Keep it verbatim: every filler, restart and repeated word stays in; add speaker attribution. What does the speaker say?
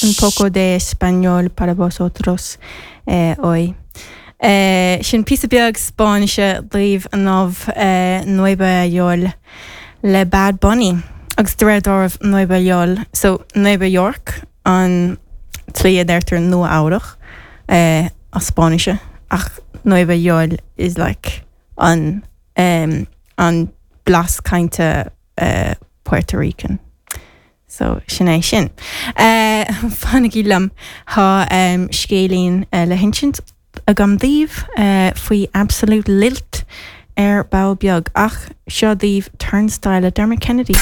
Speaker 1: Un poco de español para vosotros eh, hoy. Eh, sin píosa beag Spáinnise daoibh inniu eh, Nueva Yol le Bad Bunny. Agus de réir dealraimh Nueva Yol, so Nueva York an tslí a deirtear Nua Eabhrac eh, as Spáinnise ach Nueva Yol is like an um, an blas cainte uh, Puerto Rican. So sin é sin. Uh, Fanaigí liom tá um, scéilín uh, le hinsint agam daoibh uh, faoi Absolute Lilt ar ball beag ach seo daoibh Turnstile le Dermot Kennedy.